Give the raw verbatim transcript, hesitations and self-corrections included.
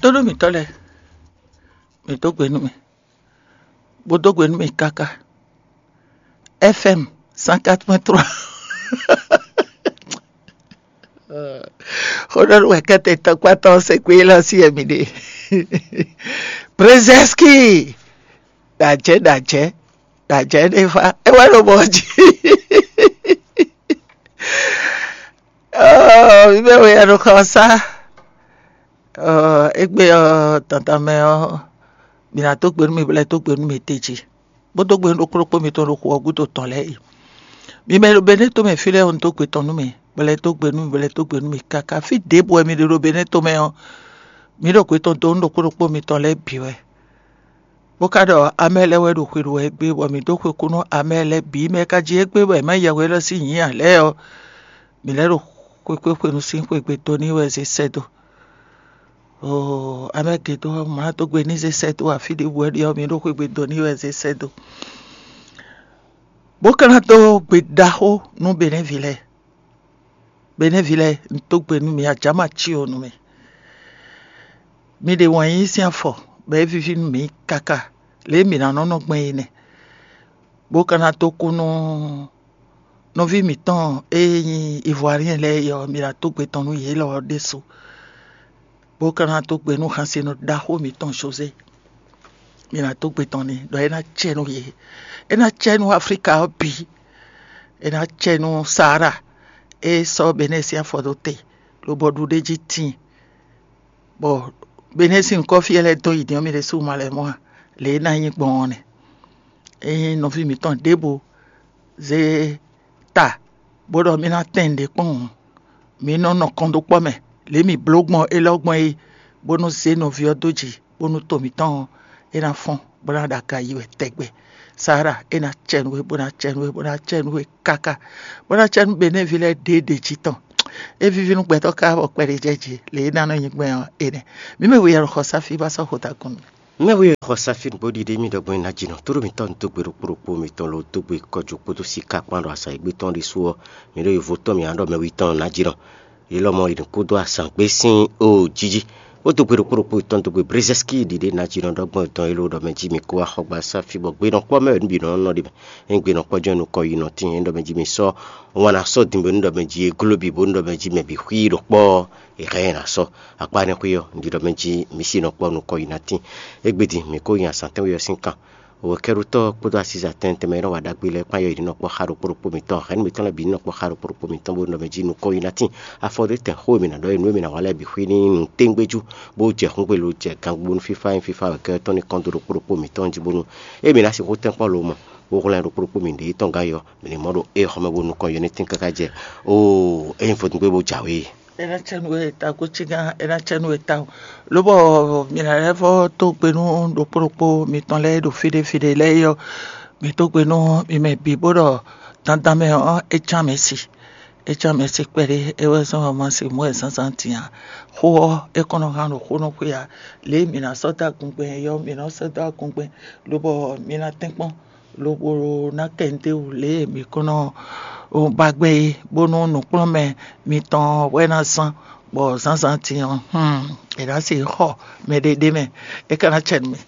Tónú mǐtɔn lɛ́ɛ, mǐ dó gbe nú mì, bó dó gbe nú mì káká. F M cent quatre point trois. Xó ɖɔ nú wɛ kɛ́tɛ tɔkpátɔ́ se kpé lɔ sí ɛmi ɖe. Brzezinski, ɖajɛ ɖajɛ ɖajɛ ɖe fa, é wɛ ɖo mɔ jí. Ɔɔ, mi mɛ we ɛnu xɔ sá. Ɔɔ, égbé ɔɔ, tantan mɛ ɔɔ, mi ná dó gbe nú mi, bɔ lɛ́ dó gbe nú mi tejí, bó dó gbe nú ɖokpó ɖokpó mitɔn ɖo xu ɔ́ gúdo tɔn lɛ́ɛ é. Mi mɛ ɖo Benɛ́ tomɛ fí lɛ́ɛ ɔ́, un dó gbe tɔn nú mi, bɔ lɛ́ dó gbe nú mi, bɔ lɛ́ dó gbe nú mi káká. Fí ɖěbǔ wɛ mi ɖe ɖo Benɛ́ tomɛ ɔ́, mi ɖo gbe tɔn dó nú ɖokpó ɖokpó mitɔn lɛ́ɛ bǐ wɛ. Bó ka ɖɔ amɛ lɛ́ɛ wɛ ɖo xwe ɖu wɛ gbé, bɔ mǐ dó xwe kú nú amɛ lɛ́ɛ bǐ mɛ ka jí égbé wɛ má yɛhwe élɔ́ sín nyǐ ǎ lɛ́ɛ ɔ́, mǐ lɛ́ ɖo xwekpéxwenu sín xwegbe dó n'i wɛ zé sɛ́ dó. Oo, amɛ gědó ɔ́, mǎ dó gbe ní zé sɛ́ dó afí ɖěbǔ wɛ ɖe ɔ́, mǐ ɖo xwegbe dó n'i wɛ zé sɛ́ dó. Bó ka ná dó gbe ɖaxó nú Benɛ́vi lɛ́ɛ. Benɛ́vi lɛ́ɛ, un dó gbe nú mi, ajǎ ma cí o nú mi. Mi ɖe wǎn yíyí sín afɔ, bɔ é víví nú mǐ káká, lě e mǐ ná nɔ nɔ gbɛn é nɛ́. Bó ka ná dó kú nú nɔví mǐtɔn e nyí Ivoirien lɛ́ɛ é ɔ́, mi ná dó gbe tɔn nú yě lɔ ɔ́ ɖésú. Bó ka ná dó gbe nú hansinɔ ɖaxó mǐtɔn José. Mi ná dó gbe tɔn n'i ɖɔ é ná cɛ nú yě. É ná cɛ nú Aflíka ɔ́ bǐ. É ná cɛ nú Saara e sɔ́ Benɛ́ sín afɔ dó te, lobɔ ɖu ɖ'é jí tíin, bɔ Benɛ́ sín nyǐkɔ fí e lɛ́ dɔn yi din ɔ́, mi ɖésú ma lɛ́ mɔ a? Lě e é ná nyí gbɔn ɔ́ nɛ́. Ényí nɔví mǐtɔn ɖěbǔ zé ta bó ɖɔ mì ná tɛn nǔɖé kpɔ́n hǔn, mǐ nɔ nɔ kɔn dó kpɔ́ mɛ, lě e mǐ bló gbɔn élɔ́ gbɔn é, bónú zé nɔví ɔ́ dó jǐ, bónú to mǐtɔn ɔ́, é ná fɔ́n, bó ná ɖo aga yi wɛ tɛgbɛ. Saara, é ná cɛ nú we, bó ná cɛ nú we, bó ná cɛ nú we káká, bó ná cɛ nú Benɛ́vi lɛ́ɛ ɖěɖě jí tɔn. É víví nú gbɛtɔ́ ká bɔ kpɛɖé jɛ jí, lě e é ná nɔ nyi gbɛn ɔ́, é nɛ́. Mǐ mɛ we yɛ xɔ sáfí bá sɔ́ xota kún mì. Mɛ we xɔ sáfí nǔgbó ɖiɖe mì ɖɔgbɔn ná jǐnɔ tó ɖo mǐtɔn ní dó gbe ɖokpó ɖokpó mitɔn ló dó gbe kɔjú kpódó siká kpán ɖo azǎn e gbé tɔn ɖésú ɔ́, mǐ ɖo yovo tɔn mǐ ná ɖɔ mɛ wi tɔn ná jǐnɔ. Yě lɔmɔ̌ è nǐ kúdó azǎn gbé sín o jí jí, bó dó gbe ɖokpó ɖokpó mitɔn dó gbe Brezɛ́ski ɖiɖe ná jǐnɔ ɖɔgbɔn dɔn é ló ɖɔ mɛ jí mi kó axɔgba sáfí bɔ gbe nɔ kpɔ́ mɛ wɛ nú bǐ nɔ nɔ ɖe mɛ. Ényí gbe nɔ kpɔ́ jɛ́n nukɔn yi nɔ tín é ɖɔ mɛ jí mi sɔ́ wan ná sɔ́ din bɔ é nú ɖɔ mɛ jí e gló bǐ bó nú ɖɔ mɛ jí mɛ bǐ xwí ɖo kpɔ́. È hɛn ɛ ná sɔ́ akpá énɛ́ xwé ɔ́, un ɖi ɖɔ mɛ jí mi sí nɔ kpɔ́ nukɔn yi ná tín. Égbé din mǐ kó nyi azǎn tɛ́nwe ɔ́ sín kan. Wekɛ́ɖutɔ́ kpódó asízatɛn tɛnmɛ e nɔ wa ɖagbe lɛ́ɛ kpán yɔ yi ní nɔ kpɔ́ xá ɖokpó ɖokpó mitɔn, hɛ̌nnu mitɔn lɛ́ɛ bǐ ní nɔ kpɔ́ xá ɖokpó ɖokpó mitɔn bó nɔ mɛ jí nukɔn yi ná tín. Afɔ ɖé tɛn xó e mǐ ná ɖɔ é nú e mǐ ná wa lɛ́ɛ bǐ xwí ní nú téngbéjú, bó jɛ xúngbelo jɛ gangbónú fífá nyí fífá wekɛ́ tɔn ní kɔn dó ɖokpó ɖokpó mitɔn jí bónú é mǐ ná sixú tɛ́nkpɔ́n lomɔ, bó hwlɛ́n ɖokpó ɖokpó mǐ ɖě tɔn gán yɔ, mǐ ní mɔ ɖo éxɔ́ mɛ bónú nukɔn yɔ ní tín káká jɛ. Oo, ényí vodúngbé bó jǎwe. É ná cɛ nú we ta gúcígán, é ná cɛ nú we tawun. Lobɔ mi ná lɛ́ vɔ́ dó gbe nú ɖokpó ɖokpó mitɔn lɛ́ɛ e ɖo fí ɖé fí ɖé lɛ́ɛ é ɔ́, mi dó gbe nú mi mɛ bǐ bó ɖɔ dandan mɛ ɔ́, é cán mɛ si. É cán mɛ si kpɛɖé, é wɛ zɔ́n ɔ́ ma si mɔ̌ wɛ zǎnzǎn din ǎ. Xó ɔ́, é kɔn nɔ hán ɖo xó nɔ xwé ǎ. Lě e mǐ ná sɔ́ dó agungbɛn é ɔ́, mǐ nɔ sɔ́ dó agungbɛn, lobɔ mi ná tɛ́nkpɔ́n lobo ná kɛ nǔɖé wú lě e mǐ kɔn nɔ ba gbɛn é, bónú nǔkplɔ́nmɛ mitɔn wɛ ná zán, bɔ zǎnzǎn din ɔ́, hmm, è nǎ se xɔ mɛɖé ɖ'é mɛ, é ka ná cɛ nú mì.